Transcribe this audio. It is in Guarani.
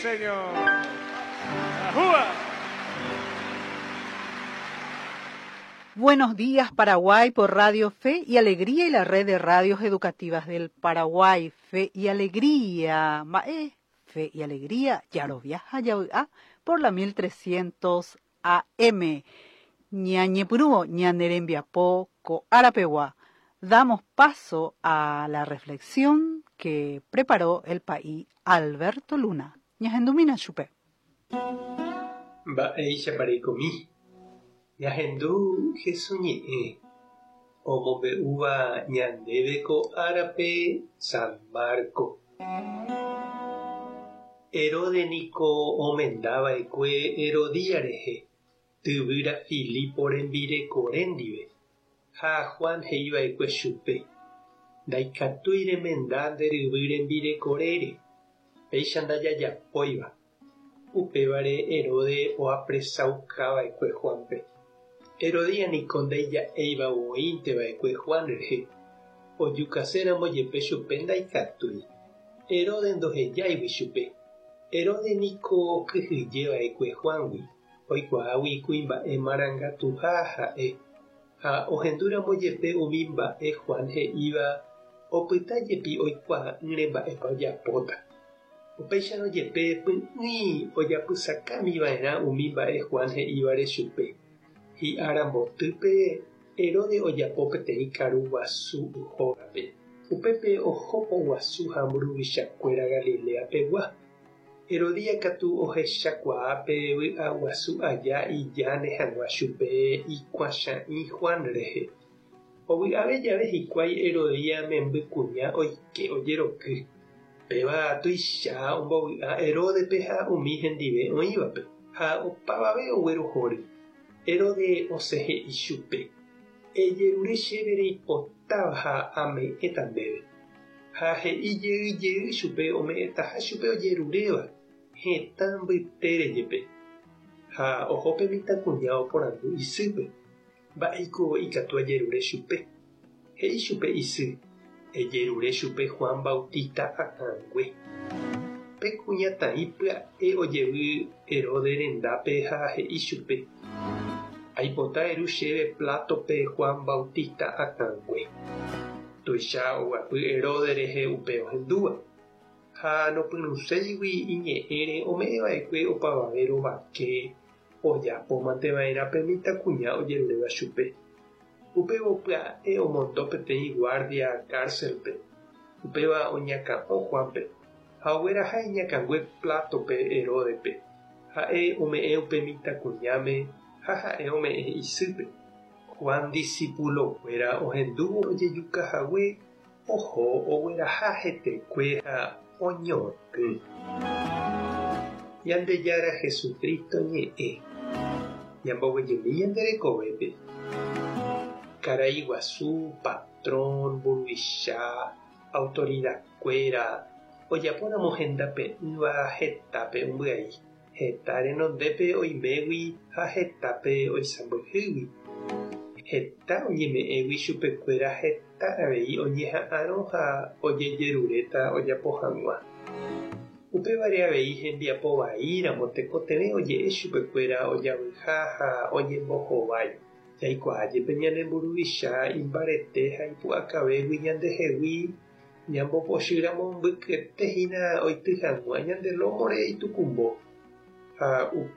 señor. ¡Ajúa! Buenos días Paraguay por Radio Fe y Alegría y la red de radios educativas del Paraguay. Fe y Alegría. Mae, Fe y Alegría, Yaroviaja Yauyá por la 1300 AM. Ñañepurúo, ñanerembiapo, coarapegua. Damos paso a la reflexión que preparó el país Alberto Luna. Ñahendumína chupe. Mba'éichapa reikomi. Ñahendu Jesús ñe'ẽ omombe'úva ñandéve ko árape San Marco. Herode niko omenda va'ekue Herodía rehe, tyvýra Filipo rembirekore ndive, ha Juan he'i va'ekue chupe, Ndaikatúi remenda nde ryvy rembirekorére, péicha ndajajapóiva. Upévare Herode oapresaukava'ekue Juánpe. Herodía niko ndaija'éiva voínte va'ekue Juan rehe, ojukaséramo jepe chupe ndaikatúi, Herode ndohejáigui chupe. Herode niko okyhyje va'ekue Juángui, oikuaágui kuimba'e marangatuha ha'e, ha ohendúramo jepe umi mba'e Juan he'íva opyta jepi oikuaa'ỹre mba'épa ojapóta. Upéicharõ jepe py'ỹi ojapysakámi va'erã umi mba'e Juan he'ívare chupe. Hi'ára mbotýpe Herode ojapo peteĩ karu guasu hógape. Upépe oho poguasu ha mburuvichakuéra Galilea pegua. Herodía katu ohechakuaa pe vy'aguasu aja ijáne hag̃ua chupe ikuãcha'ĩ Juan rehe. Ovy'ave jave hikuái Herodía membykuña oike ojeroky. Péva tuicha ombovy'a Heródepe ha umi hendive oĩvape, ha opavave oguerohory. Herode osẽ he'i chupe, Ejerure chéve reipotáva ha ame'ẽta ndéve. Ha he'i jey jey chupe ome'ẽtaha chupe ojeruréva, hetã mbytére jepe. Ha oho pe mitãkuña oporandu isýpe, Mba'éiko ikatu ajerure chupe? He'i chupe isy, Ejerure chupe Juan Bautista akãngue. Pe kuñataĩ pya'e ojevy Herode rendápe ha he'i chupe, Aipota eru chéve plátope Juan Bautista akãngue. Tuicha oguapy Herode rehe upe ohendúva. Ha nopyrũséigui iñe'ẽre ome'ẽ va'ekue opavave rovake Ojapo mante va'erã pe mitãkuña ojeruréva chupe. Upévo pya'e omondo peteĩ guárdia kárselpe, upéva oñakã'o Juánpe, ha ogueraha iñakãngue plátope Heródepe. Ha'e ome'ẽ upe mitãkuñáme ha ha'e ome'ẽ isýpe. Juan disipulokuéra ohendúvo ojejuka hague, oho ogueraha hetekue ha oñotỹ. Ñandejára Jesucristo ñe'ẽ. Ñamboguejymi ñande rekovépe. Karai guasu, patrón, mburuvicha, autoridad-kuéra, ojapóramo hendape'ỹva hetápe ombyai, heta renondépe oimégui ha hetápe oisãmbyhýgui. Heta oñeme'ẽgui chupekuéra heta avei oñeha'arõ ha ojejeruréta ojapo hag̃ua. Upévare avei hembiapo vaíramo tekotevẽ oje'e chupekuéra ojavyha ha oñembohovái. Jaikuaa jepe ñane mburuvicha imbarete ha ipu'akavégui ñandehegui ñambopochýramo mbykyete hína oity hag̃ua ñande lómore itukumbo. Ha.